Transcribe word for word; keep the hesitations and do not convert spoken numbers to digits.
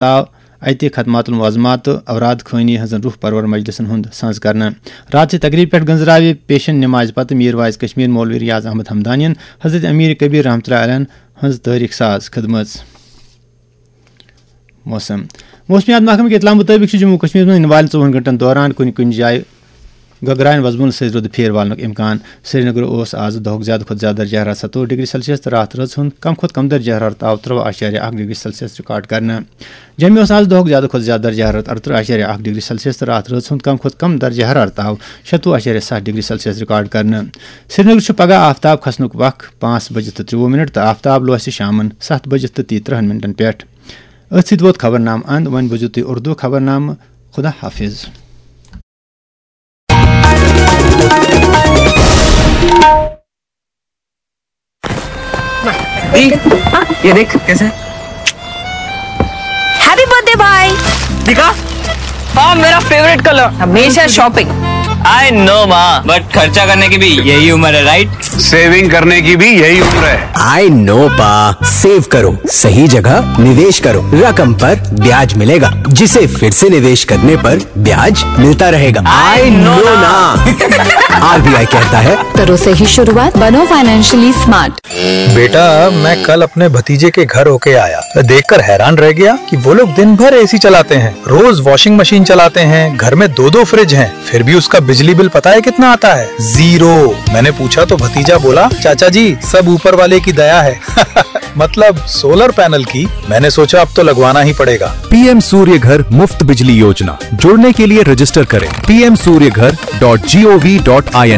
آو اتہِ ختمات المعظمات تہٕ اوراد خٲنی ہٕنٛزن روح پرور مجلسن ہُنٛد سنز کرنہٕ۔ راتچہِ تقریبہِ پٮ۪ٹھ گنزراوِ پیشن نمازِ پتہٕ میر واعظ کشمیر مولوی ریاض احمد ہمدانین حضرت امیر کبیر رحمتہ اللہ علیہ ہٕنٛز تٲریخ ساز کھٔدمٕژ۔ موسم۔ موسمیات محکمہٕ کہِ اطلاع مُطٲبِق چھُ جموں و کشمیرس منٛز یِنہٕ والٮ۪ن ژوٚوُہن گھنٹن دوران کُنہِ کُنہِ جایہِ گگراین وزمُل سۭتۍ رُدٕ پھیرٕ والنُک امکان۔ سرینگر اوس آز دۄہُک زیادٕ کھۄتہٕ زیادٕ درجہ حرارت ستووُہ ڈگری سیلسیس تہٕ راتھ رٲژ ہُنٛد کم کھۄتہٕ کم درجہ حرارت آو ترٛوٚوُہ اعشاریہ اکھ ڈگری سیلسیس ریکارڈ کرنہٕ۔ جوٚمہِ اوس آز دۄہُک زیادٕ کھۄتہٕ زیادٕ درجہ حرارت ارترٕہ اعشاریہ اکھ ڈگری سیلسیس تہٕ راتھ رٲژ ہُنٛد کم کھۄتہٕ کم درجہ حرارت آو شتوُہ اعشاریہ ستھ ڈگری سیلسیس ریکارڈ کرنہٕ۔ سرینگر چھُ پگہہ آفتاب کھسنُک وق پانٛژھ بجہِ تہٕ ترٛوٚوُہ منٹ تہٕ آفتاب لوسہِ شامن ستھ بجہِ تہٕ تیٚیہِ ترٕہن منٹن پٮ۪ٹھ۔ أتھۍ سۭتۍ ووت خبرنامہٕ اند۔ وۄنۍ بوٗزِو تُہۍ اردو خبرنامہٕ۔ خدا حافظ۔ ये देख कैसे है। Happy birthday भाई। दिखा। हाँ, मेरा फेवरेट कलर। हमेशा शॉपिंग। आई नो माँ, बट खर्चा करने की भी यही उम्र है, राइट? सेविंग करने की भी यही उम्र है। आई नो पा। सेव करो, सही जगह निवेश करो। रकम पर ब्याज मिलेगा, जिसे फिर से निवेश करने पर ब्याज मिलता रहेगा। आई नो ना। आरबीआई कहता है, करो सही शुरुआत, बनो फाइनेंशियली स्मार्ट। बेटा, मैं कल अपने भतीजे के घर होके आया। मैं देखकर हैरान रह गया कि वो लोग दिन भर एसी चलाते हैं, रोज वॉशिंग मशीन चलाते हैं, घर में दो दो फ्रिज हैं, फिर भी उसका बिजली बिल पता है कितना आता है? ज़ीरो। मैंने पूछा तो भतीजा बोला, चाचा जी, सब ऊपर वाले की दया है। मतलब, सोलर पैनल की। मैंने सोचा, अब तो लगवाना ही पड़ेगा। पीएम सूर्य घर मुफ्त बिजली योजना। जुड़ने के लिए रजिस्टर करें P M Surya Ghar dot G O V dot I N.